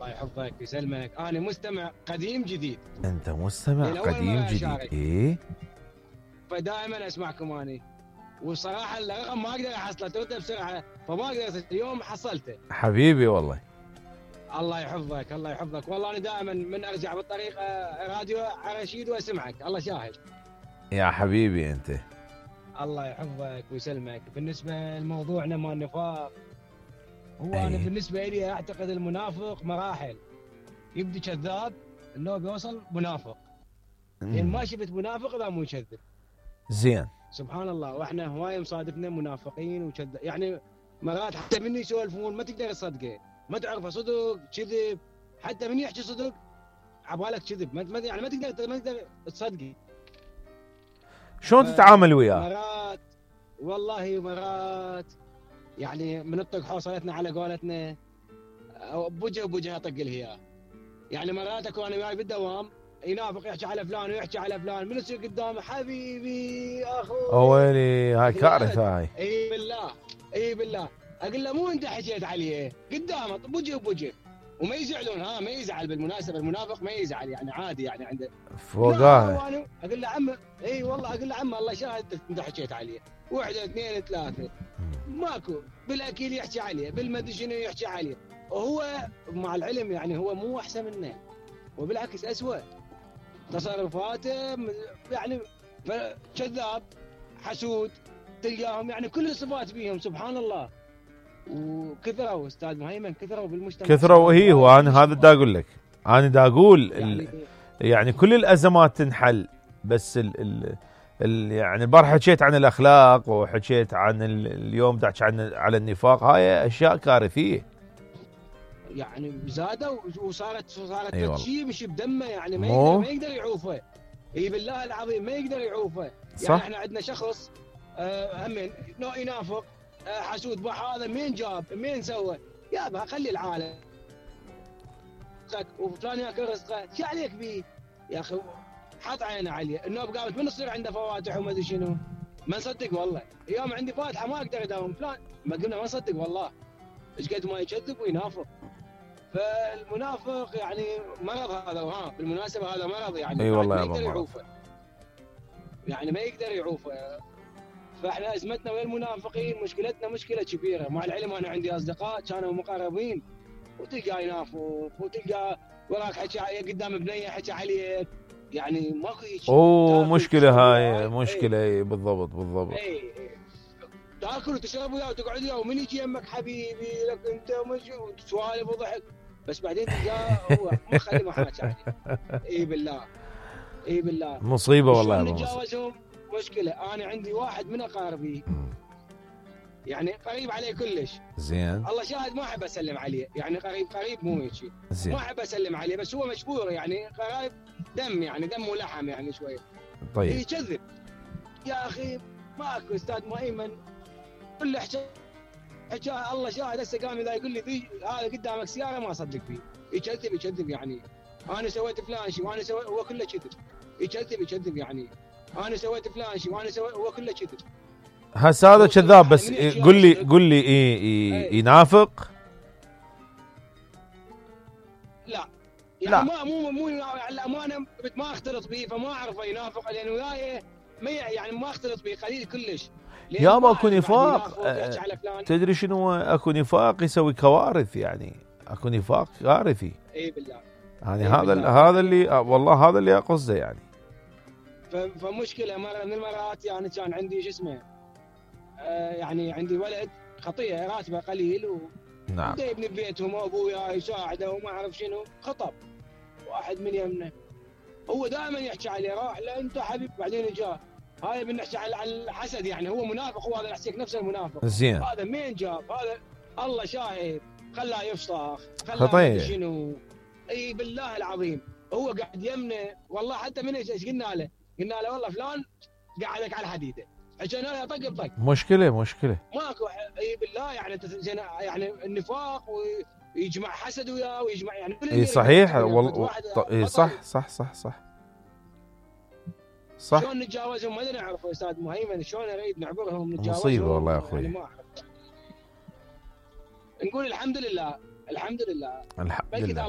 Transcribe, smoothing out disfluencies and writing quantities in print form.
الله يحفظك ويسلمك. انا مستمع قديم جديد. انت مستمع قديم جديد. ايه فدائما اسمعكم اني، وصراحه الرقم ما اقدر احصله توته بسرعه، فما اقدر اليوم حصلته. حبيبي والله. الله يحفظك الله يحفظك. والله انا دائما من ارجع بالطريق راديو رشيد واسمعك، الله شاهد. يا حبيبي انت. الله يحفظك ويسلمك. بالنسبه لموضوعنا مال النفاق، هو أيه. انا بالنسبه لي اعتقد المنافق مراحل. يبدي كذاب انه بيوصل منافق. لان ما شفت منافق اذا مو يكذب. زين. سبحان الله. واحنا هواي مصادفنا منافقين وكذب، يعني مرات حتى من يسولفون ما تقدر تصدقه، ما تعرفه صدق كذب. حتى من يحكي صدق عبالك كذب، يعني ما تقدر تصدقه. شلون تتعامل وياه؟ مرات والله مرات يعني بنطق حوصلتنا على قولتنا، بوجه اطق الهياه. يعني مرات اكو انا وياي بالدوام ينافق يحكي على فلان ويحكي على فلان، من يصير قدامه حبيبي اخوي. ويلي هاي كارثه هاي. اي بالله اي بالله. اقول له مو انت حكيت عليه قدامه بوجه وما يزعلون. ما يزعل بالمناسبه، المنافق ما يزعل يعني عادي يعني عنده فوقاه. اقول له عم اي والله اقول له عم الله شاهد انت حكيت عليه، واحده اثنين ثلاثه ماكو بالاكيد يحكي عليه، بالمدري شنو يحكي عليه. وهو مع العلم يعني هو مو احسن منه، وبالعكس اسوء تصرفاته، يعني كذاب حسود تلقاهم، يعني كل الصفات بيهم سبحان الله. وكثروا استاذ مهيمن، كثروا بالمجتمع، كثروا. هي وانا هذا دا اقول لك، انا دا اقول يعني كل الازمات تنحل، بس يعني البارحه حكيت عن الاخلاق وحكيت عن اليوم دا على النفاق. هاي اشياء كارثيه يعني زادوا وصارت شيء مش بدمه، يعني ما يقدر يعوفه. اي بالله العظيم ما يقدر يعوفه. صح. يعني احنا عندنا شخص همين نوع ينافق حسود، هذا مين جاب مين سوى؟ يابا خلي العالم وفلان ياكل رزقه، شو عليك بيه يا اخي؟ حط عينه عليه. النوب قامت من تصير عنده فواتح وما ادري شنو، ما نصدق والله. اليوم عندي فاتحه ما اقدر اداوم فلان، ما قلنا ما نصدق والله. ايش قد ما يكذب وينافق. فالمنافق يعني مرض هذا. بالمناسبه هذا مرض يعني. اي والله ما يقدر يعوفه، يعني ما يقدر يعوفه. فاحنا ازمتنا ويا المنافقين، مشكلتنا مشكله كبيره. مع العلم انا عندي اصدقاء كانوا مقربين، وتلقى ينافق، وتلقى وراك حكي قدام بنيه حكي عليك، يعني ماكو هيك. مشكله هاي مشكله. بالضبط. اي تاكل وتشرب وياه وتقعد وياه، ومن يجي يمك حبيبي لك انت وسوالف وضحك، بس بعدين تلقاه هو ما خلي ما حكى عليه. اي بالله مصيبه والله. نتجاوزهم مشكله. انا عندي واحد من اقاربي يعني قريب عليه كلش. زين. الله شاهد ما احب اسلم عليه، يعني قريب مو هيك شيء. ما احب اسلم عليه، بس هو مشهور يعني قرايب دم، يعني دم ولحم يعني شويه. طيب. يكذب يا اخي ماكو استاذ مهيمن. كل حكى الله شاهد. هسه قام اذا يقول لي هذا قدامك سياره ما اصدق فيه. يكذب يعني انا سويت فلان شيء وانا سويت، هو كله كذب. يكذب يعني انا سويت فلان شيء وانا سويت، هو كله كذب. هسه هذا كذاب. بس قل لي ينافق؟ لا يعني مو الامانه ما اختلط به، فما اعرفه ينافق، لانه وياي يعني ما اختلط به قليل كلش. يابا اكو نفاق. تدري شنو اكو نفاق يسوي كوارث، يعني اكو نفاق كارثي. اي بالله. يعني هذا اللي والله هذا اللي اقصده يعني. فمشكله مره من المرات يعني كان عندي شو اسمه يعني عندي ولد خطيه راتبه قليل نعم. يبني ببيتهم وابويا يساعده وما اعرف شنو. خطب واحد من يمنا، هو دائما يحكي عليه راح لا انت حبيب. بعدين جاء هاي بنحكي على الحسد، يعني هو منافق. هو هذا يحكيك نفس المنافق. زين. هذا مين جاب هذا؟ الله شاهد خلاه يفصخ خطيه شنو. اي بالله العظيم هو قاعد يمنا والله. حتى من ايش قلنا له والله فلان قاعدك على الحديده، عشان انا طق بطق. مشكله ماكو. اي بالله يعني النفاق ويجمع حسد وياه ويجمع يعني اي صحيح والله. صح. شلون نتجاوزهم ما نعرف استاذ مهيمن. شلون نريد نعبرهم نتجاوزهم؟ مصيبه والله يا اخوي. يعني ما اعرف. نقول الحمد لله.